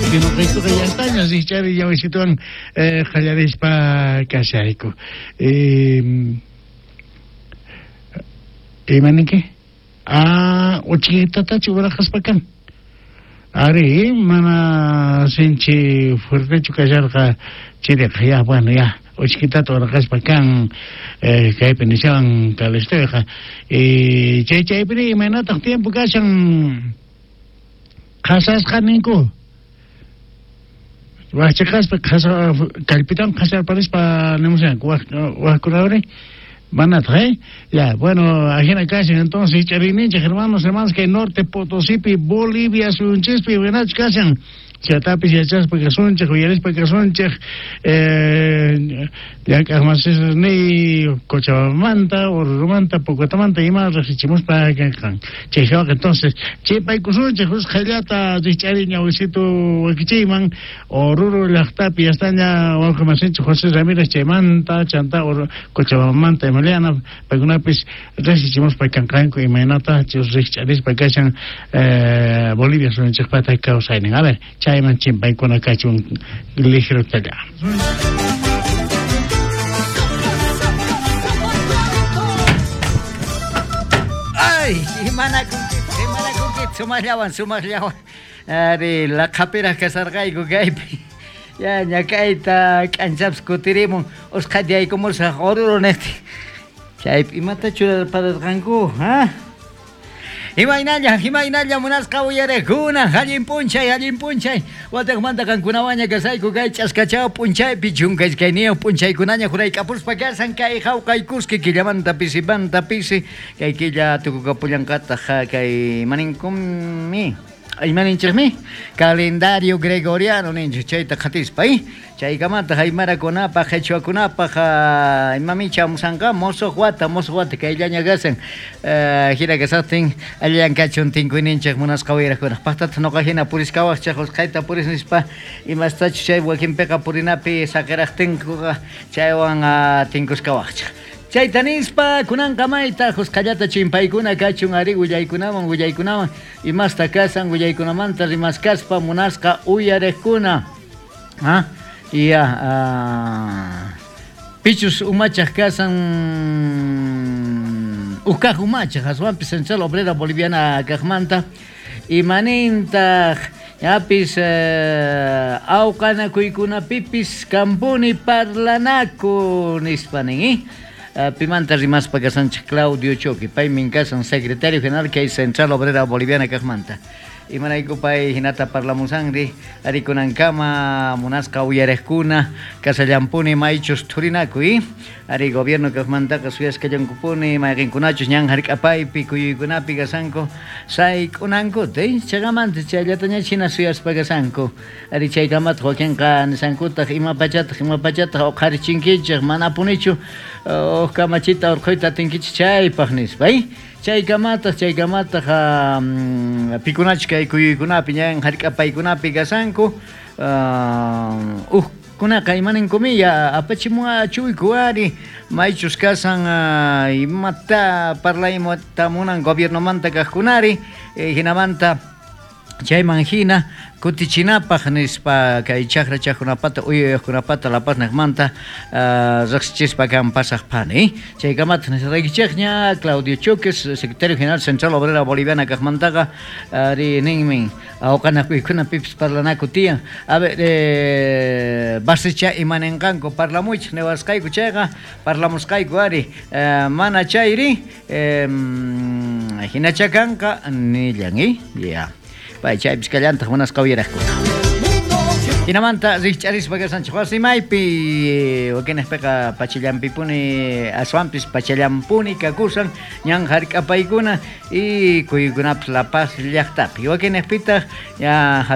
Noqaykuqa yastaña rikch'ari ñawisituwan qallarispa kashayku. Ima ninki? Ah, uchkitatachu uraqaspa kan. Ari, mana sinchi fuertechu kasharqa chiriqa, ya, bueno, ya, uchkitata uraqaspa kan kaypi nishawan Calistoyqa. Chay chaypiri imaynataq tiempo kashan qhasasqa ninku. Wajchiqaspa qhasa kallpitan qhasarparispa nimushanku wajkunawri manataq, eh? Ya, bueno, ajina kashan entonces ich'ariyninchej hermanos, hermanas kay Norte Potosipi, Bolivia suyunchispi imaynachus kashan. Chatapis yachaspa kasunchej, uyarispa kasunchej, llank'aqmasisniy Cochabambamanta, Orurumanta, Pocotamanta ima riqsichimuspa kanqan. Chay jawaqa entonces chipaykusunchej usqhayllata rikch'ariy ñawisitu wakichiyman Oruro llaqtapi yastaña wawqimasinchej José Ramírez chaymanta, chantá Cochabambamanta Emiliana, paykunapis riqsichimuspa kanqanku imaynatachus rikch'arispa kashan Bolivia suyunchejpata kawsaynin. A ver, chayman chimpaykuna kachun ligerotalla. Ay, imanakunkichej, imanakunkichej, sumajllawan, sumajllawan. Ari, laqhapiraj kasarqayku kaypi. Ya, ñak'ayta k'anchapis kutirimun, usqhayta yaykumusaj Oruro nejtin. Chaypi imata churarpararqanku, ha? Imaynalla, imaynalla munasqa uyarejkuna, allin p'unchay, allin p'unchay. Watejmanta qankunawanña kasayku kay ch'askachaw p'unchaypi, 12 p'unchaykunaña jurayk'apuspa kasan kay jawqaykuski killamanta pisimanta pisi, kay killa tukukapullanqataj kay imaninkunmi, imaninchejmi, calendario gregoriano ninchej chayta qhatispa, chaykamataq aymarakunapaj, qhechuakunapaj, imami chamusanqa mosoj wata, mosoj wata kayllaña kasan, jina kasajtin allillan kachun tinkuyninchej munasqa uyarajkunaj, pajtataq noqa jina puriskawajchej usqhayta puris nispa imastachus chay wakinpiqa purinapi saqerajtinkuqa chaywan tinkuskawajchej. Chayta nispa kunanqa mayta usqhayllata chimpaykuna kachun ari willaykunawan, willaykunawan imasta kasan willaykunamanta rimaskaspa munasqa uyarejkuna. Ah, ya, pichus umachaj kasan ujkaj umachaj aswanpis Central Obrera Boliviana kajmanta imanintaj yapis awqanakuykunapipis kampuni parlanaku nispa nin, Pimanta rimaspa kasanchej Claudio Choque, paymin kasan secretario general kay Central Obrera Boliviana kajmanta. Imarayku pay jinata parlamusanri, ari kunankama munasqa uyarejkuna kasallampuni maychus thurinakuy, ari gobierno kajmantaqa suyaskallankupuni mayqenkunachus ñan jark'apaypi kuyuykunapi kasanku sayk'unankuta, chaykamanta chayllataña hina suyaspa kasanku, ari chaykamataq wakinqa nisankutaj ima pachataq, ima pachataq uqharichinkichej manapunichu uj kamachita urqhuyta atinkichej chaypaj nispa, Chaykamataq, chaykamataq pikunachus kay kuyuykunapi ñan jark'apaykunapi kasanku, ujkunaqa imaninkumiya apachimuachuyku ari maychus kasan imata parlayta munan gobiernomanta kajkunari, jinamanta chayman jina kutichinapaj nispa kay chajra chajkunapata uyayojkunapata La Paz nejmanta riqsichispa kan pasaj phani. Chaykamataq nisaraykichejña Claudio Choques, secretario general Central Obrera Boliviana kajmantaqa ari ninmin awqanakuykunapipis parlanaku tiyan. A ver, basicha imanenqanku parlamuychej niwasqayku chayqa parlamusqayku ari mana chayri jinacha kanqa nillan, ya. Pay chaypis kallantaq munasqa uyarajkuna. Jinamanta rikch'arispa kasanchej wasimaypi wakinejpiqa pachallampipuni aswanpis pachallampuni kakusan ñan jark'apaykuna y kuyuykunapis La Paz llaqtapi wakinejpitaq ya.